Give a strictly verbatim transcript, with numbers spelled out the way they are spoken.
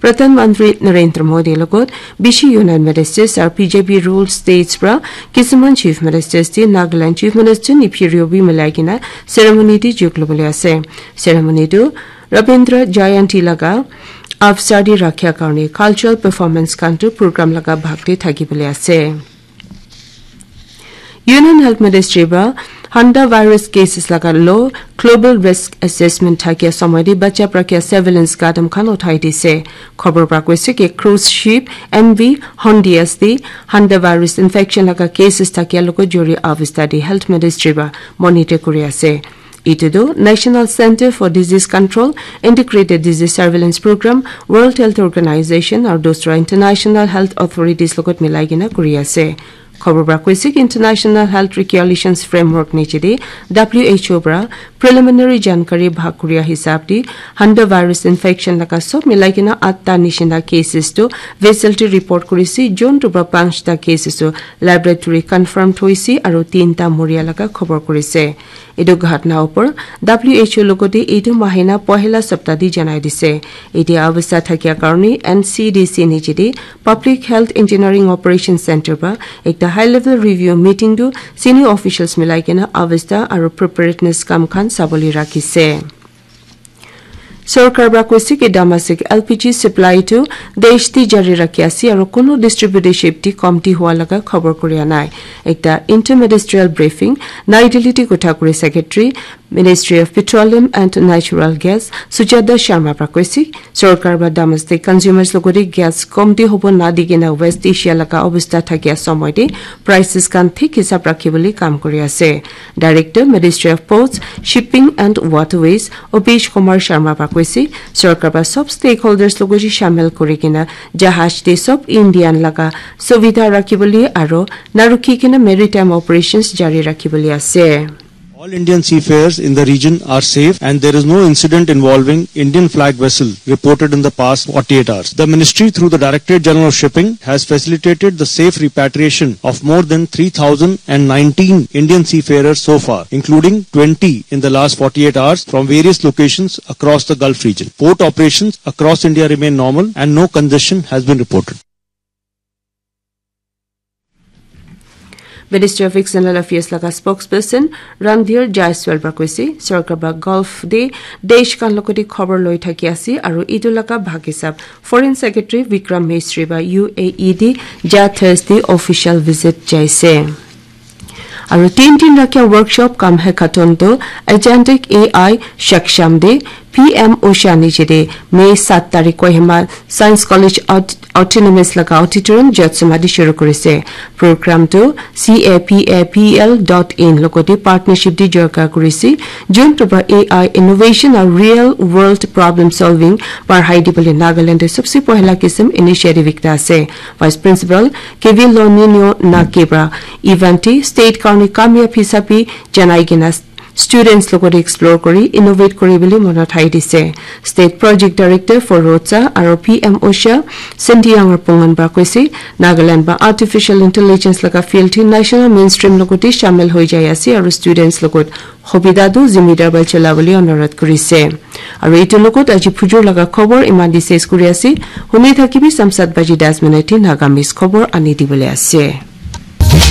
Pradhan Mantri Narendra Modi logot bishi Union Ministers aru B J P ruled states pra kisuman Chief Ministers te Nagaland Chief Minister Neiphiu Rio bi milai kena ceremony te jog lobole ase. Ceremony tu Rabindra Jayanti laga avsar te rakhia karne cultural performance khan tu program laga bhag te thaki bole ase. Union Health Ministry ba Handa virus cases laga low global risk assessment thakia samay te bacha prakia surveillance gadam khan uthai dise. Khobor pra koise ki cruise ship M V Hondias te Handa virus infection laga cases thakia logo jori avista te Health Ministry ba monitor kuri ase. Itu tu National Center for Disease Control, Integrated Disease Surveillance Program, World Health Organization aru dusra international health authorities logot milai kena kuri ase. Khobor pra koise ki International Health Regulations Framework niche te W H O pra preliminary jankari bhag kuria hisab te Handa virus infection laga sob milai kena atta nishina cases tu vessel te report kurise, jon tu pra panchta cases tu laboratory confirmed hoise aru tinta moria laga khobor kurise. Etu ghatna upor W H O logote etu mahina pohila sapta te janai dise. Etia avastha thakia karone N C D C niche te Public Health Engineering Operation Center pra ekta high level review meeting tu senior officials milai kena avastha aru preparedness kam khan sabole rakhise. Sorkar pra koise ki domestic L P G supply tu desh te jari rakhi ase aru kono distributorship te komti hua laga khobor kuria nai. Ekta interministerial briefing Nai Delhi te kotha kuri Secretary Ministry of Petroleum and Natural Gas Sujata Sharma pra koise, sorkar pra domestic consumers logote gas komti hobo na di kena West Asia laga avastha thakia samay te prices khan thik hisab rakhi bole kam kuri ase. Director Ministry of Ports, Shipping and Waterways Opesh Kumar Sharma pra koise, sorkar pra sob stakeholders logote shamil kuri kena jahaj te sob Indian laga suvidha rakhi bole aru na rukhi kena maritime operations jari rakhi bole ase. All Indian seafarers in the region are safe and there is no incident involving Indian flag vessel reported in the past forty-eight hours. The ministry, through the Directorate General of Shipping, has facilitated the safe repatriation of more than three thousand and nineteen Indian seafarers so far, including twenty in the last forty-eight hours from various locations across the Gulf region. Port operations across India remain normal and no congestion has been reported. Ministry of External Affairs laga spokesperson Randhir Jaiswal pra koise, sorkar pra Gulf te desh khan logote khobor loi thaki ase aru etu laga bhag hisab Foreign Secretary Vikram Misri pra U A E te ja Thursday official visit jaise. Aru tin din rakhia workshop kam hackathon tu Agentic A I Shaksham te P M Usha niche te May sat tarik Kohima Science College Aut-, Autonomous laga auditorium Jotsoma te shuru kurise. Program tu C A P A P L dot in logote partnership te jorka kurise. Jun tu pra A I innovation aru real world problem solving parhai dibole Nagaland te sabse pohla kisim initiative ekta ase. Vice Principal K V Lonino Nake pra event te state karone kamyab hisab bi janai kena students logote explore kuri innovate kuri bole monot hai dise. State Project Director for Rotsa aru P M Usha Sentiang Rapongan pra koise, Nagaland ba artificial intelligence laga field hi national mainstream logote shamil hoi jai ase aru students logot hobida tu zimidar ba chola bole onurodh kurise. Aru etu logot aji phujur laga khobor iman te ses kuri ase. Huni thakibi samsat baji das minute te Nagamese khobor ani dibole ase.